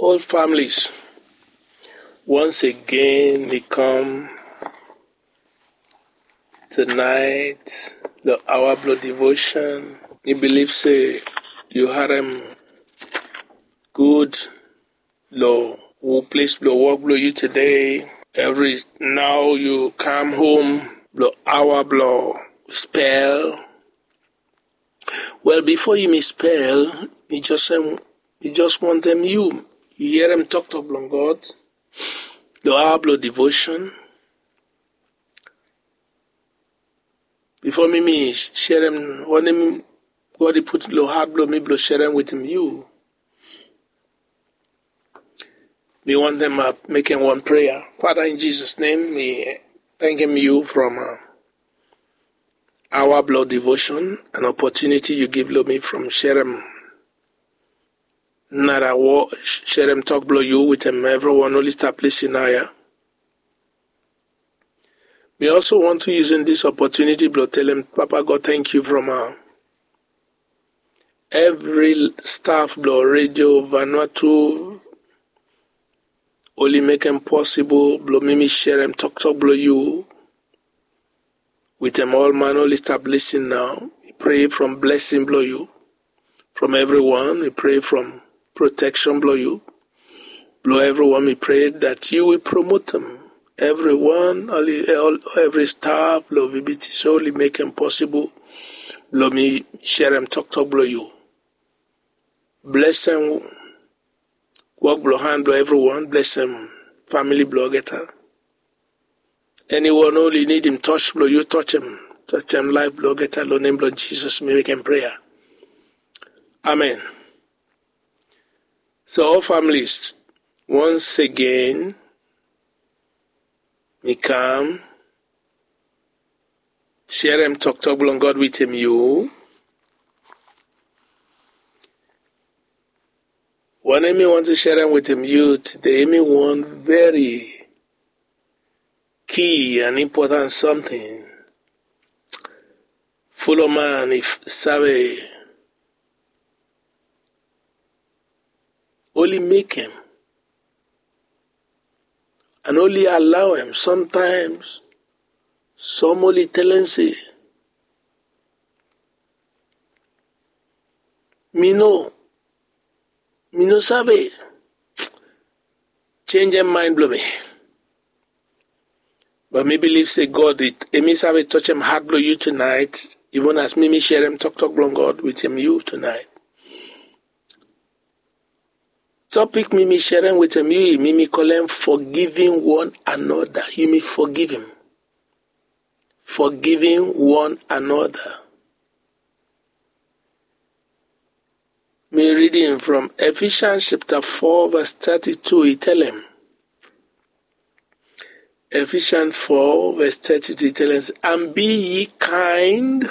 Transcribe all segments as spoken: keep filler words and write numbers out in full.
All families, once again mi kam tonight lo awa blo devotion. Mi bilif se yu harem gud lo ples blo wok blo yu today. Evri nao yu kam hom lo awa blo spel. Wel, bifo yumi spel, mi just wantem yu yerem toktok blong God lo awa blo devotion. Bifo mi mi serem wanem God i put lo hat blo mi blo serem wetem yu, mi wantem mekem wan prea. Fada, in Jesus nem mi tangkem yu from awa blo devotion, an opotuniti yu givim lo mi from serem nara wok, serem tok blo yu wetem evriwan oli stap lisin nao ya. Mi also want to using this opportunity blo telem Papa God tangkiu from evri staf blo Radio Vanuatu oli mekem posibol blo mi mi serem toktok blo yu wetem ol man oli stap lisin nao. Mi prea from blesing blo yu from evriwan. Mi prea from proteksen blo yu blo evriwan. Mi prea dat yu wi promotem evriwan, evri staf blo VBTC oli mekem posibol blo mi serem toktok blo yu. Blesem wok blo han blo evriwan. Blesem famili blo olgeta. Eniwan oli nidim tos blo yu, tosem, tosem laef blo olgeta. Lo nem blo Jisas mi mekem prea. Amen. So ol familis, once again mi kam serem toktok blong God wetem yu. Wanem mi wantem serem wetem yu tede, hemi wan very key and important something. Folo man i save oli mekem and oli alawem. Somtaems som oli telem se, mi no mi no save senjem maen blong mi. But mi bilif se God, hemi save tosem hat blong yu tunaet, even as mi mi serem toktok blong God wetem yu tunaet. Topik mi mi serem wetem yu, mi mi kolem forgiving one another. Yumi forgivim. Forgiving one another. Mi ridim from Ephesians chapter four verse thirty-two, i talem. Ephesians four verse thirty-two, i talem, and be ye kind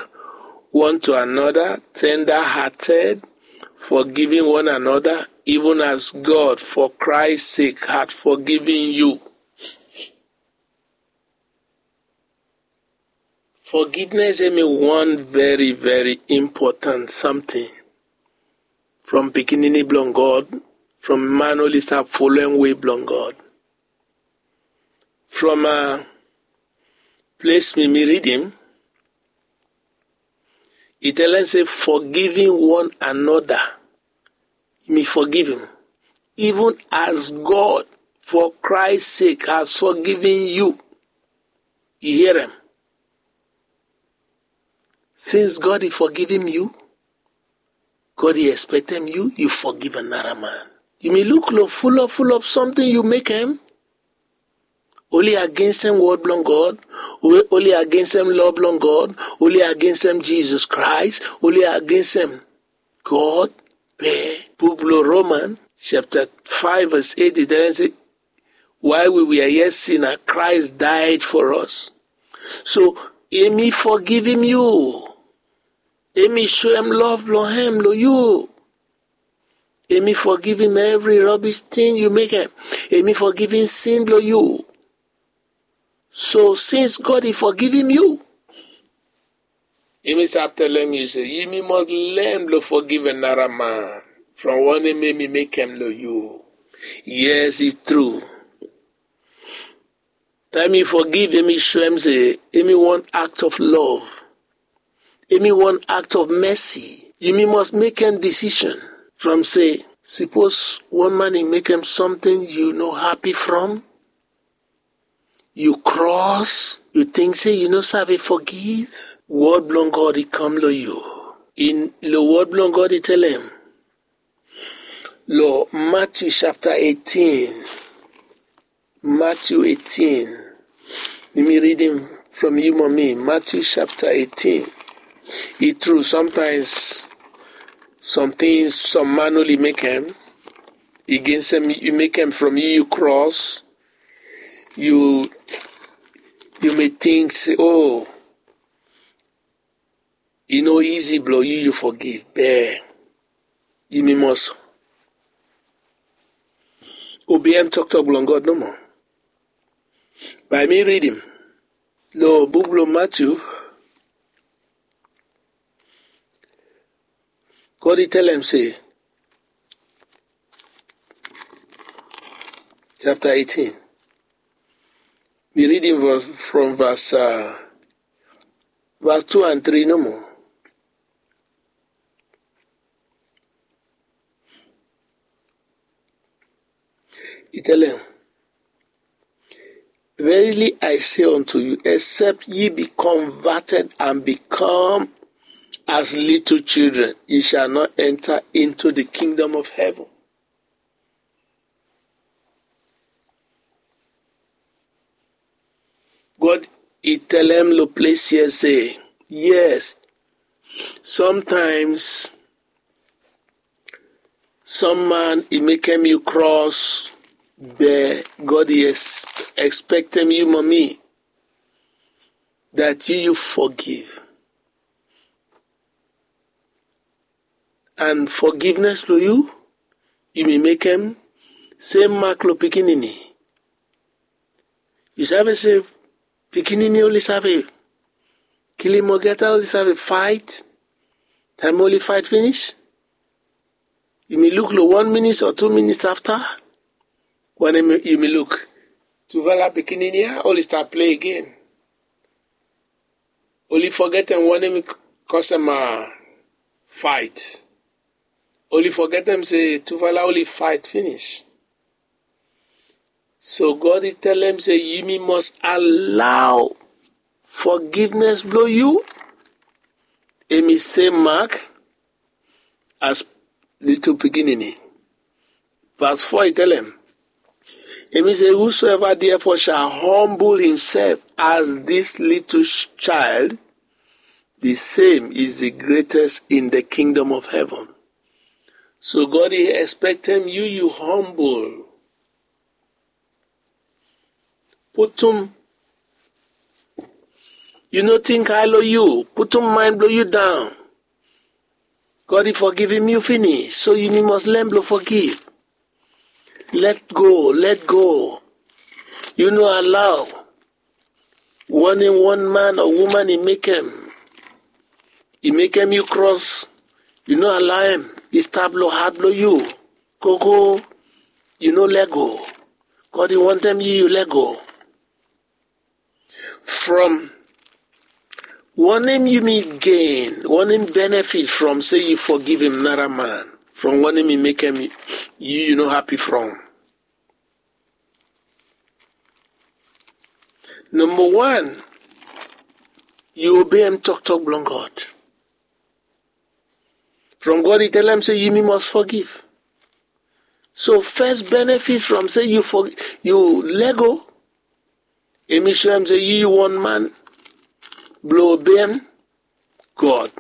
one to another, tender-hearted, forgiving one another, even as God for Christ's sake hath forgiven you. Forgiveness hemi wan very, very important something from pikinini blong God, from man oli stap folem wei blong God. From ples mi mi ridim, i talem se forgiving one another. Mi forgivim, even as God for Christ sake has forgiven you. I herem. Since God i forgivim yu, God i expectem yu, yu forgiv anara man. Yumi luk lo fulop fulop something yu mekem. Oli agensem wod blong God, oli agensem law blong God, oli agensem Jisas Kraes, oli agensem God. Be buk blong Roman chapter five verse eight i talem se, while we were yet sinner, Christ died for us. So hemi forgivim yu. Hemi soem love blong hem lo yu. Hemi forgivim evri rubbish ting yu mekem. Hemi forgivim sin blong yu. So since God i forgivim yu, hemi stap talem yu se yumi must learn blong forgiv anara man from wanem hemi mekem lo yu. Yes, it's true. Taem yu forgiv, hemi show hem se hemi wan act of love. Hemi wan act of mercy. Yumi must mek hem decision from se, sipos wan man i mek hem something yu no happy from, yu cross, yu ting se yu no save forgiv, word blong God i kam lo yu. In lo word blong God i tell hem, lo Matthew chapter eighteen, Matthew eighteen. Mek mi read hem from yu, Mommy. Matthew chapter eighteen. I true, sometimes some tings some man only mek hem, against hem, yu mek hem from yu, yu cross, yu, yu may think se, oh, e no easy blo yu, yu forgive, be yumi must obey hem toktok blong God nomo. Bae mi read hem lo book blo Matthew. God i tell hem se, chapter eighteen. Mi read hem from verse, uh, verse two and three nomo. I tell hem, verily I say unto you, except ye be converted and become as little children, ye shall not enter into the kingdom of heaven. God i tell hem lo ples ya se, yes, sometimes some man i mek hem yu cross, be God i expect hem, yu, Mommy, that yu, yu forgive. And forgiveness lo yu, yu may mek hem same mark lo pikinini. Yu save se pikinini only save kilim mogeta, only save fight. Taem only fight finish, yu may look lo one minute or two minutes after, wanem yu may look? Tufala pikinini ya only start play again. Only forget hem wanem i cause hem, uh, fight. Only forget hem se tufala only fight finish. So God i tell hem se yumi must allow forgiveness blo yu, hemi same mark as little pikinini. Verse four i tell hem, hemi se, whosoever therefore shall humble himself as this little child, the same is the greatest in the kingdom of heaven. So God i expect hem yu, yu humble. Putum, yu no think high lo yu, putum mind blo yu down. God i forgive hem yu finish, so yu must learn blo forgive. Let go, let go. Yu no allow wanem one man or woman i mek hem, i mek hem yu cross, yu no allow hem i stap lo heart blo yu. Gogo, yu no let go. God i wantem yu, yu let go. From wanem yumi gain, wanem benefit from se yu forgive hem nara man, from wanem i mek hem yu, yu no happy from? Number one, yu obey hem toktok blong God. From God i tell hem se yumi must forgive. So first benefit from se yu for, yu let go, hemi show hem se yu, yu one man blo obey hem God.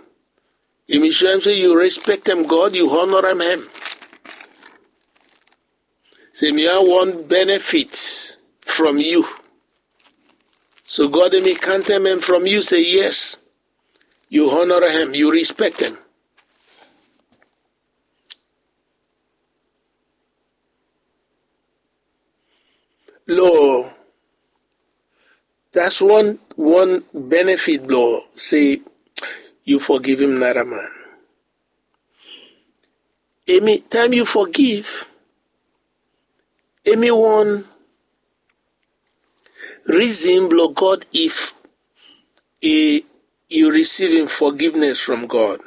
Hemi show hem se yu respect hem God, yu honor hem. Se hemi wan benefit from yu. So God hemi count hem from yu se yes, yu honor hem, yu respect hem. Lo, that's one, one benefit blo se yu forgive hem nara man. Hemi, taem yu forgive, Hemi wan reason blong God if i yu risivim forgiveness from God.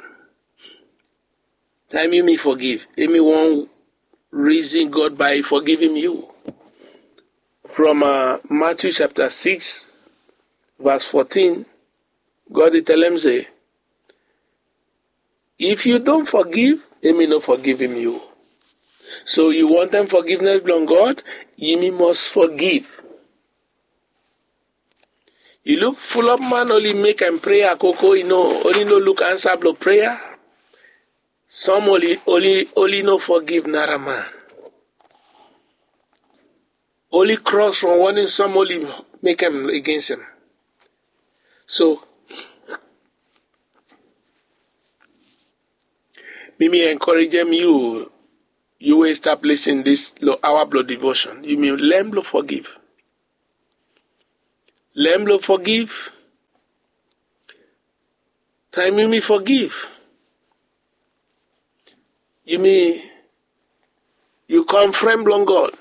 Taem yumi forgiv, hemi wan reason God bae i forgivim yu. From uh, Matthew chapter six, verse fourteen, God i tell him say, if yu don forgiv, hemi no forgivim yu. So yu wantem forgiveness blong God, yumi must forgiv. Yu luk fulop man oli mek en prayer koko, i no, oli no luk ansa blong prayer. Some oli, oli, oli no forgiv nara man. Oli cross from wanem some oli mek en against en. So mi mi encourage yu, yu we stap listen this lo hour blong devotion, yumi learn blong forgive. Learn blong forgive. Taem yumi forgive, yumi, yu kam friend blong God.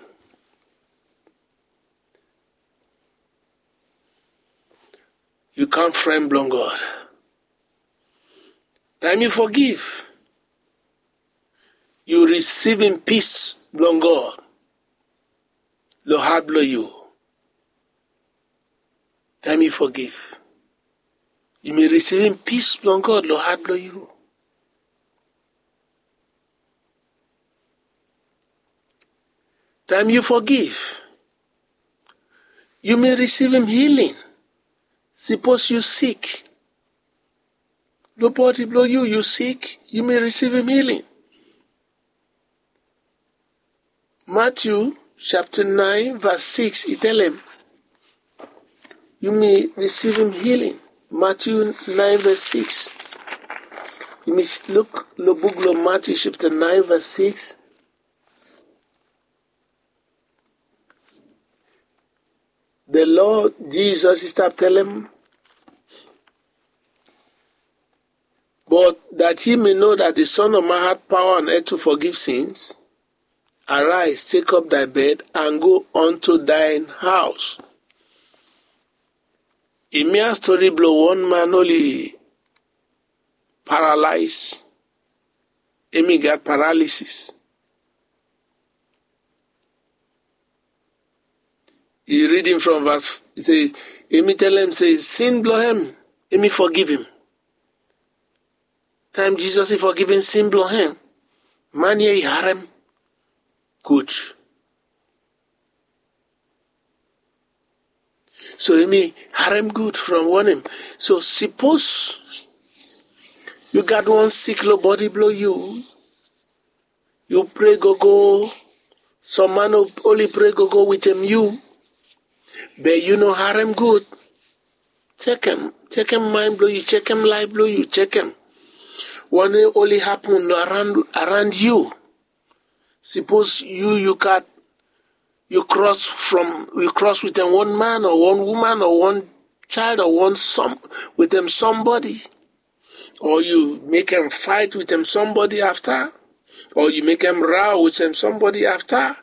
Yu kam friend blong God. Taem yu forgive, yu risivim peace blong God lo hat blong yu. Taem yu forgive, yumi risivim peace blong God lo hat blong yu. Taem yu forgive, yumi risivim healing. Sipos yu sik, lo bodi blong yu, yu sik, yumi risivim healing. Matthew chapter nine verse six i tell him, yumi risivim healing. Matthew nine verse six. Yumi luk lo buk lo Matthew chapter nine verse six. The Lord Jesus i stap tell him, but that ye may know that the Son of Man had power on earth to forgive sins, arise, take up thy bed, and go unto thine house. I mia story blong wan man oli paralyze. Hemi gat paralysis. I read him from verse, i se, hemi tell him se sin blong hem, hemi forgiv him. Taem Jesus i forgivim sin blong hem, man ya i harem gud. So hemi harem gud from wanem? So sipos yu gat wan sik lo bodi blong yu, yu pray gogo, some man oli pray gogo wetem yu, be yu no harem gud. Jekem, jekem mind blong yu, jekem life blong yu, jekem wanem oli hapen lo around, around yu. Sipos yu, yu gat, yu cross from, yu cross wetem wan man o wan woman o wan child o wan some, wetem somebody, o yu mekem fight wetem somebody afta, o yu mekem row wetem somebody afta,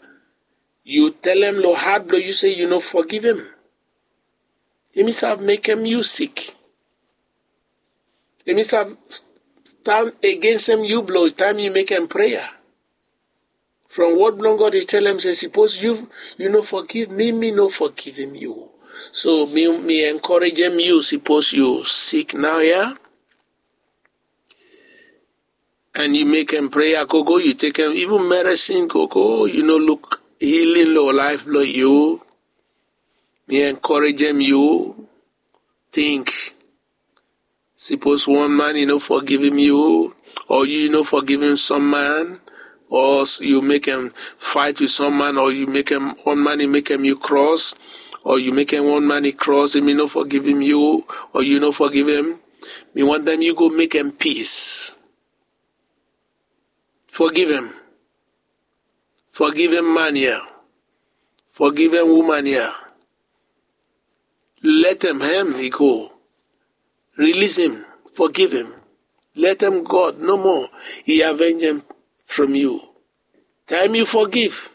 yu telem lo hat blong yu se yu no forgivim. Hemi save mekem yu sik. Hemi save stand agensem yu blong taem yu mekem prayer. From word blong God i telem se sipos yu, yu no forgiv mi, mi no forgivim yu. So mi, mi encouragem yu, sipos yu sik naoia, and yu mekem prayer gogo, yu tekem even medicine gogo, yu no luk healing lo life blong yu, mi encouragem yu, think. Sipos wan man i no forgivim yu, o yu no forgivim some man, o yu mekem fight wit some man, o yu mekem wan man i mekem yu cross, o yu mekem wan man i cross, hemi no forgivim yu, o yu no forgivim, mi wantem yu go mekem peace. Forgivim. Forgivim man ya. Forgivim woman ya. Letem hem i go. Release him. Forgive him. Letem God nomo i avenge hem from yu. Taem yu forgiv,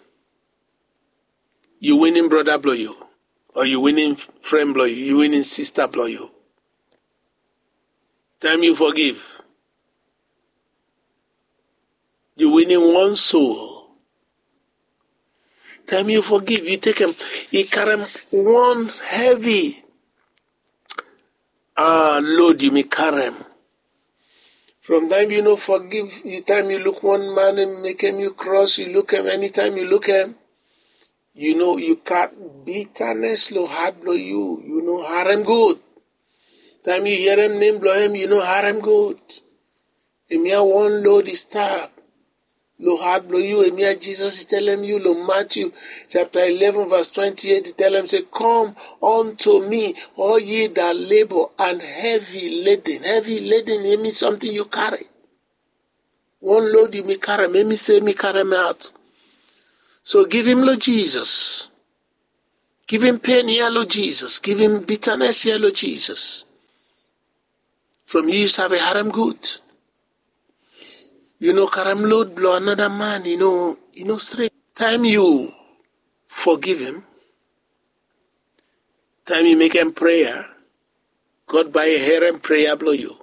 yu winim brada blong yu, o yu winim fren blong yu, yu winim sista blong yu. Taem yu fogiv, yu winim wan soul. Taem yu fogiv, yu tekem, i karem wan hevi ah, load yumi karem. From taem yu no fogiv, taem yu luk wan man em mekem yu kros, yu lukem, enitaem yu lukem, yu no, yu gat bitanes lo hat blong yu, yu no harem gud. Taem yu hierem nem blong hem, yu no harem gud. Hemia wan load i stap lo hat blong yu. Hemia Jisas i telem yu lo Matthew chapter eleven verse twenty-eight, i telem se, "Come unto me, all ye that labor and heavy laden." Heavy laden, hemi something yu kari. Wan load yumi karem, hemi se hemi karem aot. So givim lo Jisas. Givim pen ya lo Jisas. Givim bitanes ya lo Jisas. From yu save harem gud. Yu no karem load blo another man, i no, i no stret. Taem yu fogivim, taem yu mekem prea, God bae i herem prea blo yu.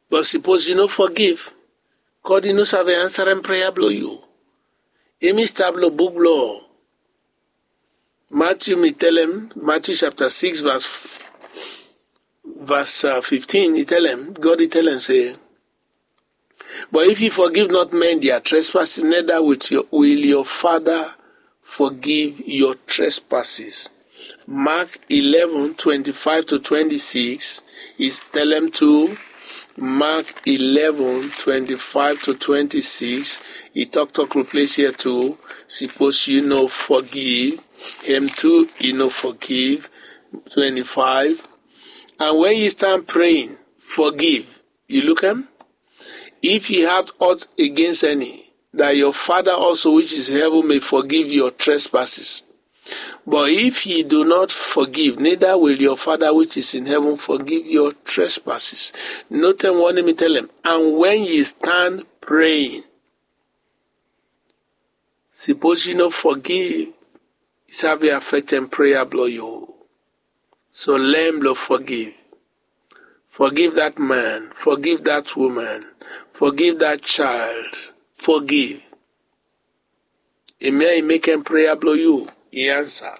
But sipos yu no fogiv, God i no save ansarem prea blo yu. Hemi stap lo buk blo Matthew, mi telem, Matthew chapter six verse, verse uh, fifteen, i telem, God i telem se, "But if you forgive not men their trespasses, neither will your, will your Father forgive your trespasses." Mark eleven twenty-five to twenty-six, i telem tu, Mark eleven twenty-five to twenty-six, i toktok lo ples ya tu, sipos yu no fogiv, hem tu i no fogiv. Twenty-five, and when you stand praying, forgive. Yu lukem? If you have aught against any, that your Father also which is in heaven may forgive your trespasses. But if ye do not forgive, neither will your Father which is in heaven forgive your trespasses. Notem wanem i telem, and when ye stand praying. Sipos yu no fogiv, i save afektem prea blo yu. So learn blo fogiv. Fogiv dat man, fogiv dat woman, fogiv dat child, fogiv. Hemia i mekem prea blo yu i ansa.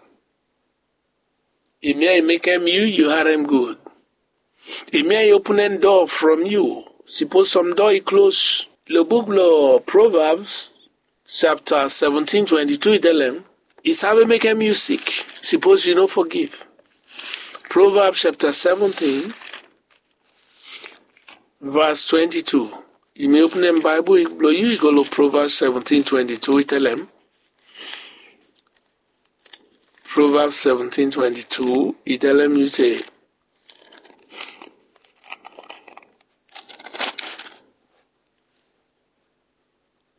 Hemia i mekem yu, yu harem gud. Hemia i openem doa from yu. Sipos sam doa i klos. Lo buk blo Proverbs chapter seventeen twenty-two i telem, i save mekem yu sik sipos yu no fogiv. Proverbs chapter seventeen verse twenty-two. Yumi openem Baebol blo yu, i go lo Proverbs seventeen twenty-two, i telem. Proverbs seventeen twenty-two, i telem yu se,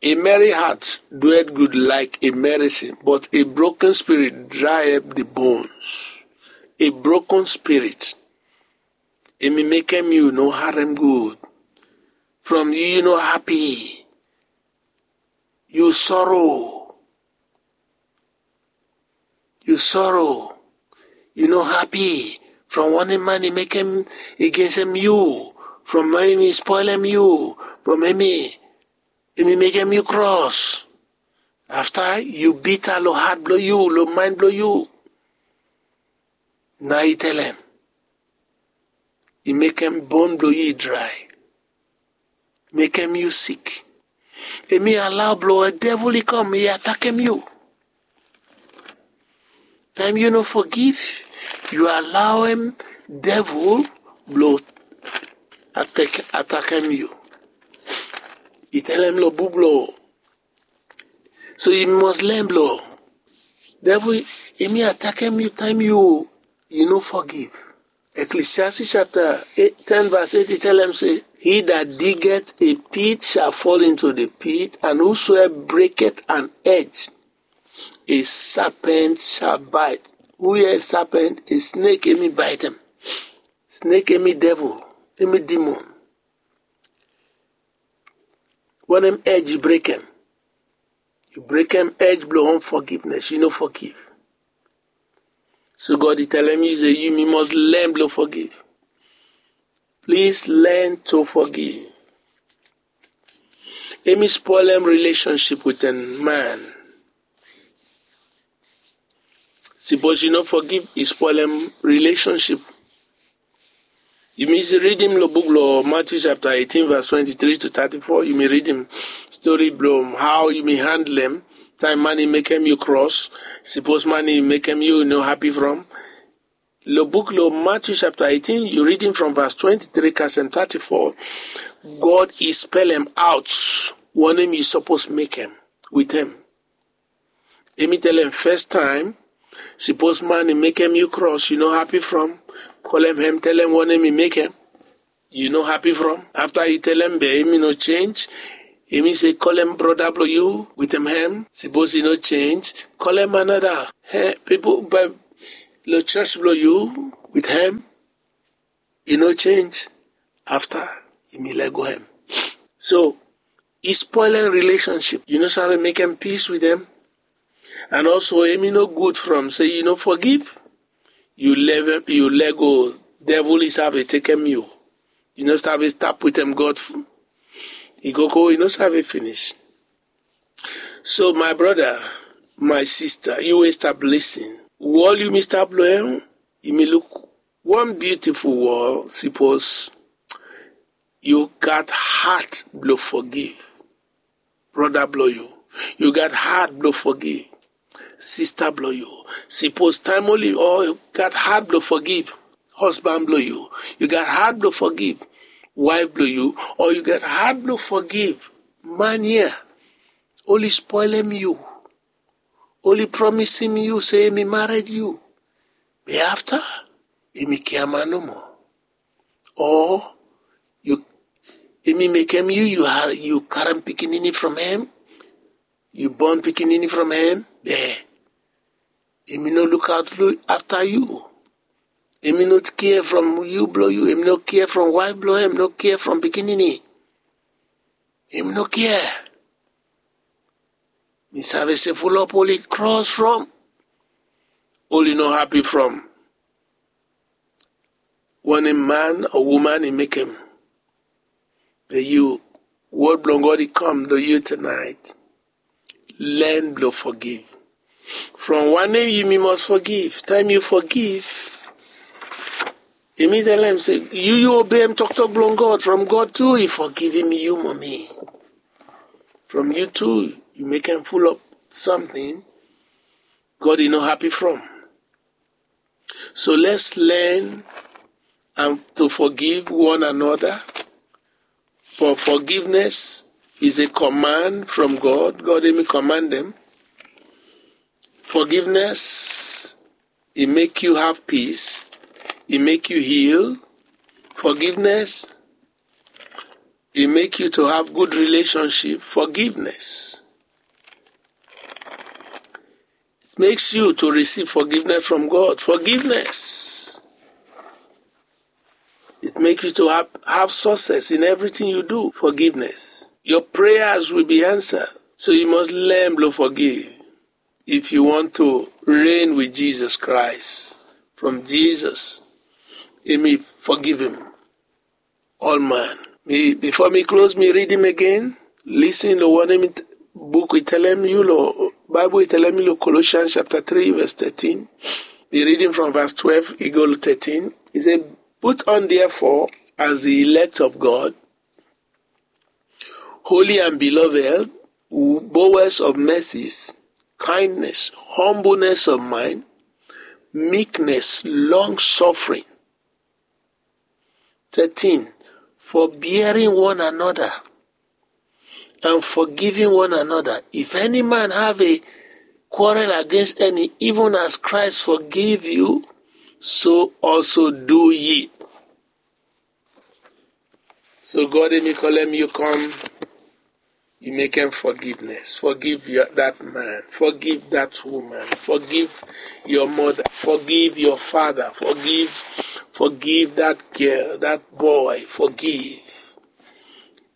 "A merry heart doeth good like a medicine, but a broken spirit dry up the bones." A broken spirit, hemi mekem yu no harem gud. From yu, yu no hapi. Yu sorrow. Yu sorrow. Yu no hapi. From wanem man i mekem agensem yu. From hemi spolem yu. From hemi, hemi mekem yu kros. Afta yu bita lo hat blo yu, lo maen blo yu. Nao i telem, i mekem bon blo yu i drae. Mekem yu sik. Hemi alao blo devil i kam, i atakem yu. Taem yu no fogiv, yu alaoem devil blo atak, atakem yu. I telem lo buk blo So yu must learn blo devil, hemi atakem yu taem yu, yu no fogiv. Ecclesiastes chapter eight, ten verse eight, i telem se, "He that diggeth a pit shall fall into the pit, and whosoever breaketh an hedge, a serpent shall bite." Hu hia a serpent? A snake hemi baetem. Snake hemi devil, hemi demon. Wanem hedge yu brekem? Yu brekem edge blong unforgiveness, yu no forgive. So God i telem yu se yumi must learn blong forgive. Please learn to forgive. Emi spoilem relationship with a man. Sipos yu no forgive, i spoilem relationship. Yumi ridim lo buk lo Matthew chapter eighteen, verse twenty-three to thirty-four. Yumi ridim story blong how yumi handlem taem man i mekem yu cross. Sipos man i mekem yu no happy from. Lo buk lo Matthew chapter eighteen, yu ridim from verse twenty-three kasem thirty-four. God i spelem out wanem yu suppose mekem with him. Emi telem first time, sipos man i mekem yu cross, yu no happy from, kolem hem, telem wanem i mekem, yu no happy from. Afta yu telem be emi no change, emi se kolem broda blong yu with him hem. Sipos i no change, kolem another. He, pipol be lo church blong yu with him. I no change. Afta emi lego hem. So i spoilem relationship. Yu no save mekem peace with him. And also emi no good from se yu no forgive. Yu leave, yu lego, devil i save tekem yu. Yu no save stap with him God. I go go, i no save finish. So my brother, my sister, yu wey stap listen, wol yumi stap lo hem. Yumi luk wan beautiful wol. Sipos yu gat heart blong forgive broda blong yu, yu gat heart blong forgive sista blong yu. Sipos taem oli o yu gat heart blong forgive husband blong yu, yu gat heart blong forgive wife blong yu, o yu gat heart blong forgive man ya, oli spoilem yu, oli promisem yu se emi mared yu, be afta emi kiaman nomo. O yu, emi mekem yu, yu karem pikinini from hem, yu bon pikinini from hem, be emi no luk aot afta yu. Emi no kia from yu blong yu, emi no kia from waef blong hem, no kia from pikinini. Emi no kia. Mi save se fulap oli kros from, oli no hapi from wanem man o woman i mekem. Be yu, wod blong God i kam long yu tonight. Learn blong forgive. From wanem yumi must forgive? Taem yu forgive, emi telem se yu, yu obeim toktok blong God, from God tu i fogivim yu, momi. From yu tu yu mekem fulap samting God i no hapi from. So let's learn and to forgive one another. For forgiveness is a command from God. God emi command dem. Forgiveness, e make you have peace. E make you heal. Forgiveness, e make you to have good relationship. Forgiveness, it makes you to receive forgiveness from God. Forgiveness, it makes you to have, have success in everything you do. Forgiveness, your prayers will be answered. So you must learn blong forgive if you want to reign with Jesus Christ. From Jesus, emi forgive him. Ol man. Mi, bifo mi klos, mi ridim again. Listen long wanem buk i telem yu long, Baebol i telem yu long Colossians chapter three verse thirteen. Mi ridim from verse twelve i go long thirteen. I se, put on therefore as the elect of God, holy and beloved, bowels of mercies, kindness, humbleness of mind, meekness, long suffering. Thirteen, forbearing one another and forgiving one another. If any man have a quarrel against any, even as Christ forgive you, so also do ye. So God emi kolem yu kom, yu mekem forgiveness. Forgive your, that man. Forgive that woman. Forgive your mother. Forgive your father. Forgive, forgive that girl, that boy. Forgive.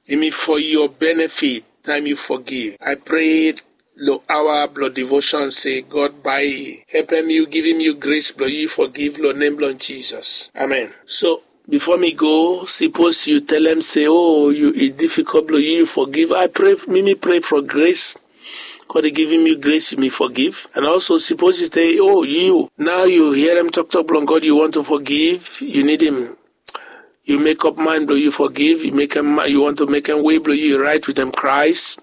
Emi for your benefit, taem yu forgive. I pray lo aoa blo devotion se God bae i helpem yu, givim yu grace blo yu forgiv lo nem blo Jesus. Amen. So bifo mi go, sipos yu telem se, o, yu, i difikol blo yu, yu forgiv, a pray, mi mi pray fo grace. God i givim yu grace, yu mi forgiv. And also sipos yu se, o, yu nao yu herem toktok blong God, yu wantu forgiv, yu nidim yu mekop mind blo yu forgiv, yu mekem, yu wantu mekem wei blo yu raet wetem Kraes.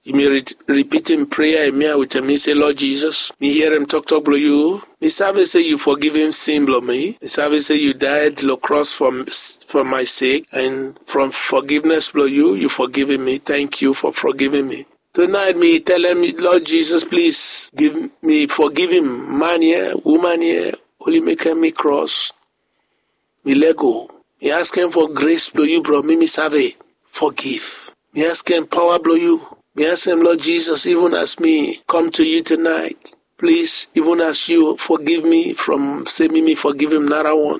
Yu mi ripitim prea ya wetem mi, se, Lord Jesus, mi herem toktok blo yu. Mi save se yu fogivim sin blo mi. Mi save se yu daed lo kros fo my sek, and from fogivnes blo yu, yu fogivim mi. Tangkiu fo fogivim mi. Tunaet mi telem, Lord Jesus, plis givim, mi fogivim man ya, woman ya, oli mekem mi kros. Mi lego. Mi askem fo grace blo yu, bro, mi mi save fogiv. Mi askem paoa blo yu. Mi askem, Lord Jesus, even as mi come to you tonight, please, even as you forgive me from se mi mi fogivim narawan,